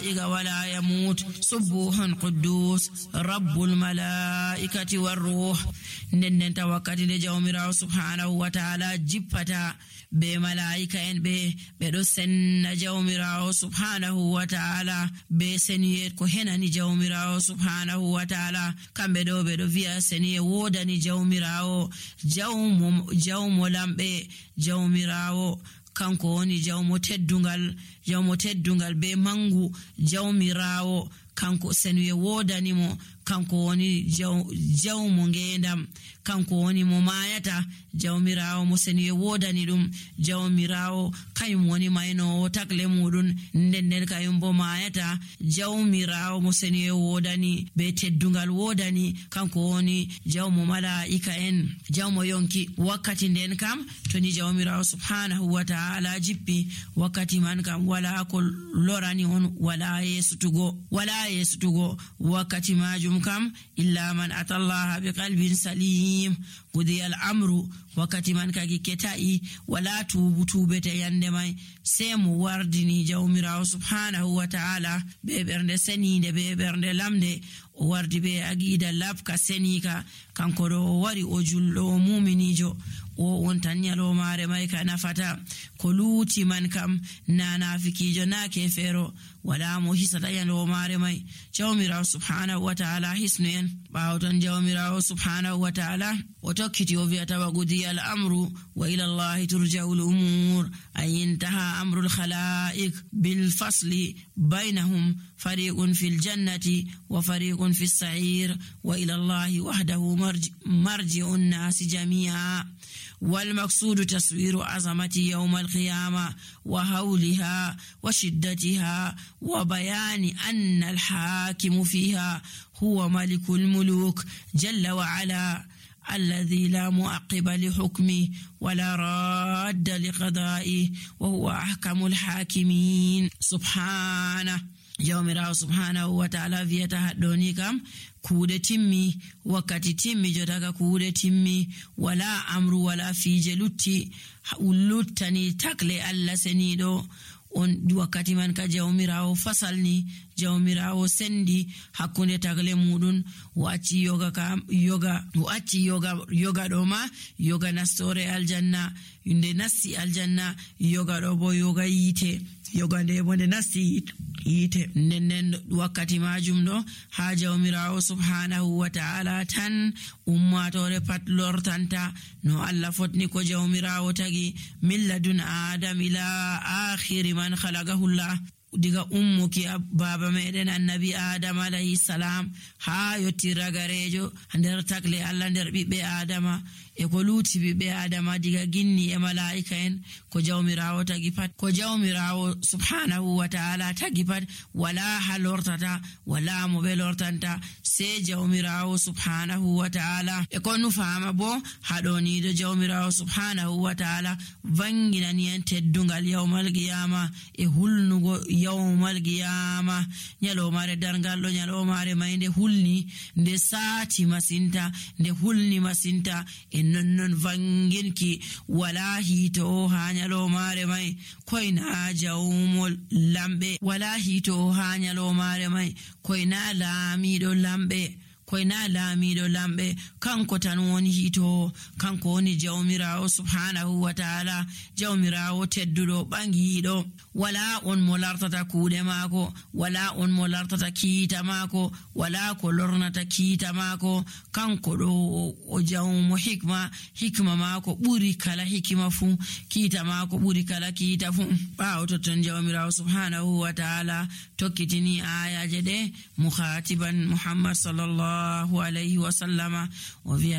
إذا ولا يموت سبوح قدوس رب الملائكة والروح ننن توكتي جوميراو سبحانه وتعالى جبتا be malaika en be do senna jawmirawo subhanahu wa ta'ala be seniye ko henani jawmirawo subhanahu wa ta'ala kambe do be do via seniye wodani jawmirawo jawmo lambe jawmirawo kanko woni jawmo teddungal be mangu jawmirawo kanko seniye wodani mo kanko woni jawmo ngendam kanko woni mo mayata jawmirawo mo seniye wodani dum jawmirawo kayum woni mayno takle mudun nden kayum bo mayata jawmirawo mo seniye wodani be teddungal wodani kanko woni jawmo malaika en jawmo yonki wakkati nden kam to ni jawmirawo subhanahu wa ta'ala jippi wakkati man kam wala ko lorani on wala yesutugo wakkati majum kam illa man atallaha biqalbin salim qudi al-amru wakati man kagi ketai wala tubete yande mai sai mu wardini jawmirawo subhanahu wa ta'ala be bernde seninde be bernde lamde o wardi be agida labka senika kanko do wari o jullo mu'minijo o on tan nyalo mare mai kana fata ko luti man kam na nafikijo na kefero wala mo hisata yalo mare mai jawmirawo subhanahu wa ta'ala hisnen bawton jawmirawo subhanahu wa ta'ala o tokkiti o viata wagudi al-amru wa ila Allah turja'u al-umur ay intaha amru al-khalaiq bil fasli bainahum fariqun fil jannati wa fariqun fis sa'ir wa ila Allah wahdahu marji'u an-nas jami'a والمقصود تصوير عظمة يوم القيامة وهولها وشدتها وبيان أن الحاكم فيها هو ملك الملوك جل وعلا الذي لا معقب لحكمه ولا راد لقضائه وهو أحكم الحاكمين سبحانه jawmirawo subhanahu wa ta'ala viyata haddoni kam kuude timmi wakkati timmi jotaga kuude timmi wala amru wala fije luttani takle Allah senido on wakkati man ka jawmirawo fasalni jawmirawo sendi hakkunde tagle mudun wacci yoga do ma yoga nastore aljanna inde nasti aljanna yoga do bo yoga yite yoga nde bonde nasti yite nennen wakkati majum do ha jawmirawo subhanahu wa ta'ala tan ummatore pat lortanta no Allah fotni ko jawmirawo tagi milladun adam ila akhir man khalaqahu Allah diga ummuki baba meden annabi adam alayhi salam ha yotti ragarejo nder takle Allah nder bibbe adama e ko luti bibbe adama diga ginni e malaika en ko jawmirawo tagi pat ko jawmirawo subhanahu wa ta'ala tagi pat wala halortata wala mo be lortanta se jawmirawo subhanahu wa ta'ala e ko nu fama bo hadoni do jawmirawo subhanahu wa ta'ala vanginani en teddungal yawmal qiyama e hulnugo yawmal qiyama nyalo mare dargal do nyalo mare mayde hulni nde saati masinta nde hulni masinta non vanginki wala hito ha nyalo mare mai koina jawmol lambe wala hito ha nyalo mare mai koina lamido lambe kanko tan woni hito kanko woni jawmirawo subhanahu wa ta'ala jawmirawo teddudo bangido wala on mo lartata kuude mako wala on mo lartata kiita mako wala ko lornata kiita mako kanko do o jawmo hikma mako buri kala hikima fu kiita mako buri kala kiita fu bawo to ton jawmirawo subhanahu wa ta'ala tokkitini ayaje de mukhatiban Muhammad sallallahu alayhi wa sallama wa